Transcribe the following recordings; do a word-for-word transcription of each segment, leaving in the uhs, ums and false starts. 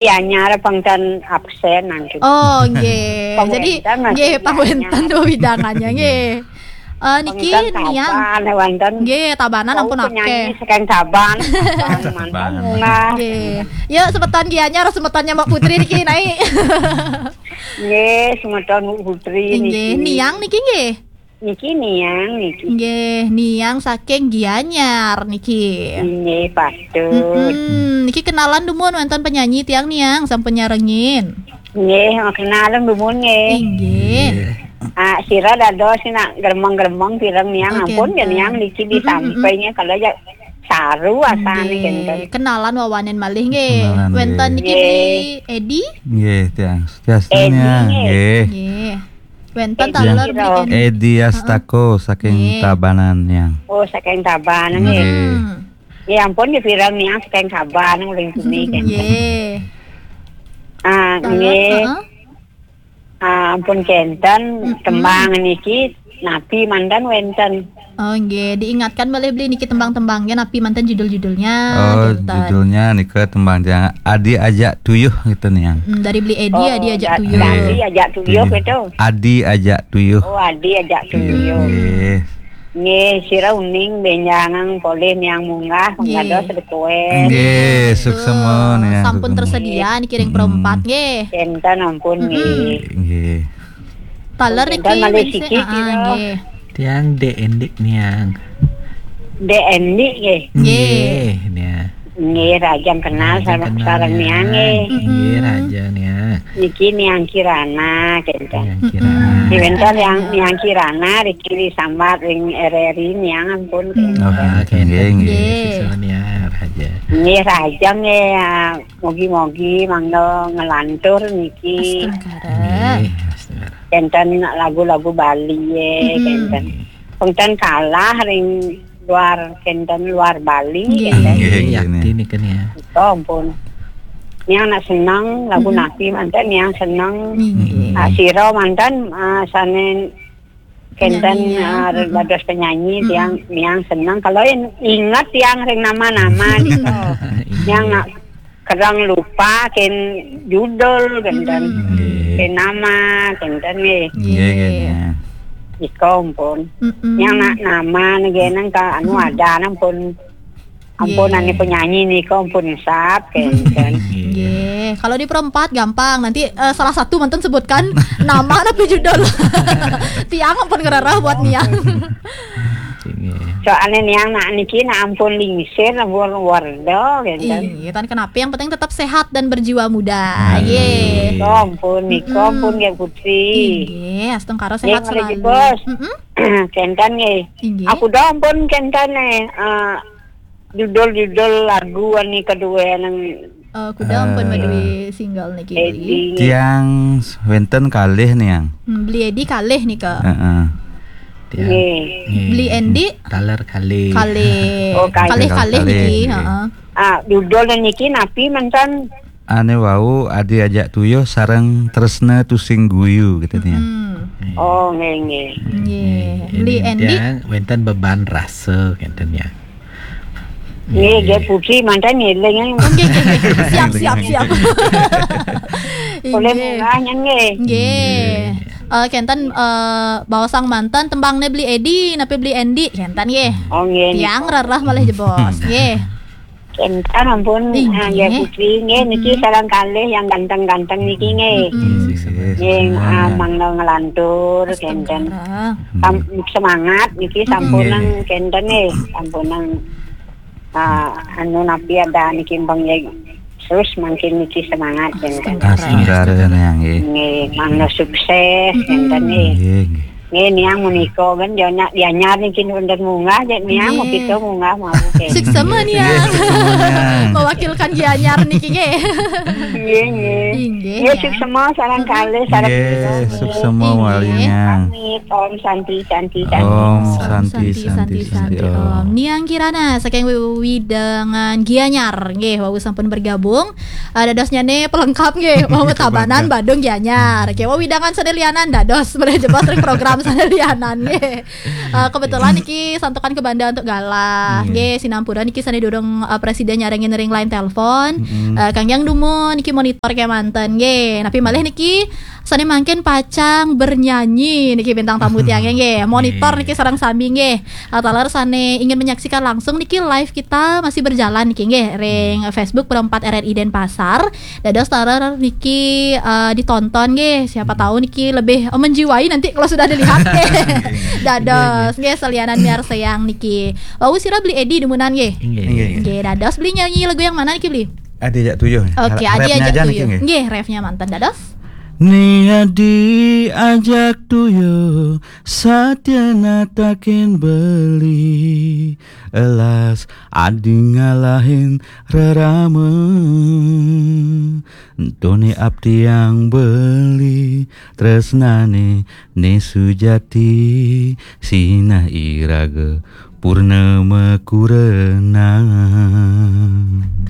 Gianyar pang ten absen nangkin. Oh, nggih. Pang Jadi, wénten, nggih, maksudnya, pang wénten Gianyar. Wewidangannya, nggih. Eh, niki Pang ten Niang. Taban, wénten. Nggih, Tabanan. Oh, ampun penyanyi akeh. Saking Taban, Taban, Taban. Mantap, munggah. Nggih. Ya, semeton Gianyar, semetonnya Mbak Putri niki, Nai. Nggih, semeton Bu Putri nggih, niki. Niang niki nggih. Niki Niang niki. Nggih, Niang saking Gianyar niki. Nggih, patut. Mm-mm. Niki kenalan dumun wénten penyanyi tiang Niang sampun nyarengin. Nggih, kenalan dumun nggih. Inggih. Nggih. Ah, sira dados nak gremeng-gremeng pireng Niang. Oke, ampun ya enten. Niang niki. Mm-mm, mm-mm. Disampainya kalau ya saru asane. Nggih, kenten. Kenalan wawanen malih nggih. Kenalan, wénten nggih. Niki Nggih. Beli Edi? Nggih, tiang. Tiang Edi Niang, nggih. Nggih. Nggih. Wénten Edi taler Edi. Edi Astako saking Nggih. Tabanan, Niang. Oh, saking Tabanan, nggih. Nggih. Hmm. Ya ampun, ya pirang Niang saking Tabanan, uling bumi, kan. Nggih. Ah, taler, nggih. Heeh. Ah, ampun kenten, mm-mm. Tembang niki, napi manten wénten. Oh, nggih, diingatkan malih Beli niki tembang-tembangnya, napi manten judul-judulnya, oh, gitu. Judulnya nika tembang tiang Adi Ajak Tuyuh gitu, Niang. Hmm, dari Beli Edi, oh, Adi Ajak Tuyuh. Adi Ajak Tuyuh gitu. Adi Ajak Tuyuh. Oh, Adi Ajak Tuyuh. Nggih. Nggih, sira uning bénjangan polih Niang munggah, nggih. Penggados request. Nggih, suksema, Niang, sampun suksema. Tersedia niki ring perempat, nggih. Kenten ampun, nggih. Nggih. Taler niki malih siki, ah, nggih. Tiang Dek Endik Niang. Dek Endik nggih. Nggih. Nggih, Niang. Nggih, rahajeng kenal sareng Niang nggih. Nggih, rahajeng Niang. Niki Niang Kirana kenten. Niang Kirana. Di wénten Niang, Niang Kirana riki sambat ring R R I Niang ampun. Oh, kenten. Nggih, nggih. Nggih. Siswa Niang rahajeng. Nggih, rahajeng nggih, ya. Mugi-mugi mangda nglantur niki. Astungkara. Nggih, astungkara. Kenten lagu-lagu Bali ya, kenten. Pengten kalah ring luar, kenten luar Bali, nggih. Kenten. Nggih, nggih, yakti nika, Niang. Nika ampun. Niang nak seneng lagu napi manten Niang seneng. Nggih. Ah, sira manten, ah, sane kenten, penyanyi, ya. Ah, dados penyanyi, tiang, Niang seneng. Kalau in-, inget tiang ring nama-nama nika. Niang nak kereng lupa ken judul kenten. Nggih. Ken nama kenten nggih. Nggih, nggih, nggih. Nika ampun. Niang nak nama nggih nang ka anu ada ampun. Ampun, nggih. Ane penyanyi nika ampun sap kenten. Nggih. Nggih. Kalau di perempat gampang. Nanti, eh, salah satu manten sebutkan nama napi judul. Tiang ampun ngrereh buat Niang. Nggih. Soalnya Niang nak niki nak ampun lingsir, ampun warda, gitu. Iya, tan kenapa, yang penting tetap sehat dan berjiwa muda. Nggih. Nggih. Nika ampun, nika ampun, nggih, Putri. Nggih, astungkara sehat selalu. Nggih, malih jebos. Mm-mm. Kenten nggih. Nggih. Aku dah ampun kenten nih, eh, judul-judul lagu ani kedua nang Eh, kuda ampun, eh, madué single niki, Beli Edi. Tiang wénten kalih, Niang. Hmm, Beli Edi kalih nika. Heeh. Tiang. Nggih. Nggih. Beli Endi? Taler kalih. Kalih. Oh, kalih. Kalih-kalih niki, nggih. Heeh. Ah, judul niki napi manten? Ane wau Adi Ajak Tuyuh sareng Tresna Tusing Guyu gitu, Niang. Hmm. Nggih. Oh, nggih, nggih. Nggih. Nggih. Beli Endi? Tiang wénten Beban Rasa kenten, Niang. Nggih, nggih, nggih. Puji manten ngeling. Oh, nggih, nggih, nggih. Siap, siap, siap. Boleh munggah, nggih. Nggih. Nggih. Eh, kenten, eh, baosang manten tembangne Beli Edi, napi Beli Endi, kenten nggih. Oh, nggih, nggih. Tiang rereh malih jebos, nggih. Kenten ampun, nggih. Ah, nggih, Puji, nggih, niki sareng kalih yang ganteng-ganteng niki, nggih. Mm-mm. Nggih, ah, mangda nglantur, kenten. Astungkara. Sam-, semangat niki sampunang kenten nggih, sampunang, ah, anu napi ada niki empeng ya. Terus mangkin niki semangat kenten. Astungkara. Astungkara, Niang, nggih. Nggih, mangda sukses kenten nggih. Nggih, nggih. Nggih, Niang menika kan dia nak Gianyar niki wénten munggah, jadi Niang mau kita munggah mau kenten. Suksema, Niang. Nggih, suksema, Niang. Mewakilkan Gianyar niki nggih. Nggih, nggih. Inggih, nggih, Niang. Suksema sareng kalih, sareng nggih, nggih. Suksema malih, Niang. Amit, Om Santi, Santi, Santi. Om Santi, Santi, Santi, Santi, Om. Om. Niang Kirana saking wewidangan Gianyar nggih, wau sampun bergabung. Ah, dadosnyane pelengkap nggih, wau Tabanan, Badung, Gianyar. Nggih, wau wewidangan sadaya lianan dados, boleh jebos ring program Sané lianan nggih. Eh, kebetulan niki santukan ke Banda untuk galah. Nggih, sinampura niki sané durung, eh, Presiden nyarengin ring line telepon. Eh, kangge dumun niki monitor kemanten nggih. Napi malih niki sané mangkin pacang bernyanyi niki bintang tamu tiangnya nggih. Monitor niki sareng sami nggih. Eh, taler sané ingin menyaksikan langsung niki live kita masih berjalan niki nggih ring Facebook Pro empat R R I Denpasar. Dados taler niki, eh, ditonton nggih. Siapa tahu niki lebih, eh, menjiwai nanti kalau sudah dilihat nggih. Dados nggih selianan miarsayang niki. Wau sira Beli Edi dumunan nggih. Nggih. Nggih, dados Beli nyanyi lagu yang mana niki Beli? Adi Ajak Tuyuh. Oke, Rap-nya Adi Ajak aja niki, Tuyuh. nggih. Nggih, refnya manten dados. Ni Adi Ajak Tuyuh, satia natakin beli, elas adi ngalahin rerama. Tone abdi yang beli, tresnane ne sujati, sinah iraga purnama kurena.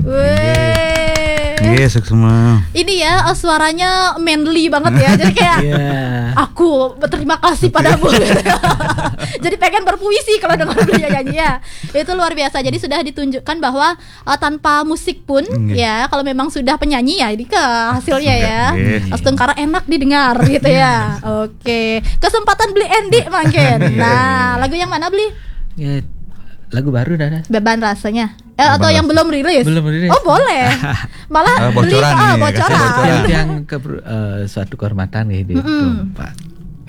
Weh. Nggih, suksma. Ini ya, eh, suaranya manly banget ya. Jadi kayak Iya. aku berterima kasih padamu. Jadi pengen berpuisi kalau dengar beliau nyanyi ya. Itu luar biasa. Jadi sudah ditunjukkan bahwa, eh, tanpa musik pun Nggih. ya, kalau memang sudah penyanyi ya, ini ke hasilnya ya. Nggih. Astungkara enak didengar gitu ya. Oke. Kesempatan Beli Endi mangkin. Nah, lagu yang mana Beli? Ya, lagu baru dah. Beban rasanya. Eh, atau yang belum rilis? Belum rilis. Oh, boleh. Malah Ah, Beli bocoran ah, nih, bocoran. kasih bocoran. Yang, yang ke eh, suatu kehormatan nggih di Pak.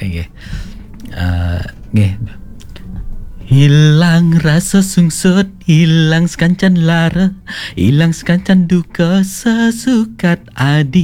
Nggih. Eh, nggih. Hilang rasa sungsut, hilang sekancan lara, hilang sekancan duka sesukat adi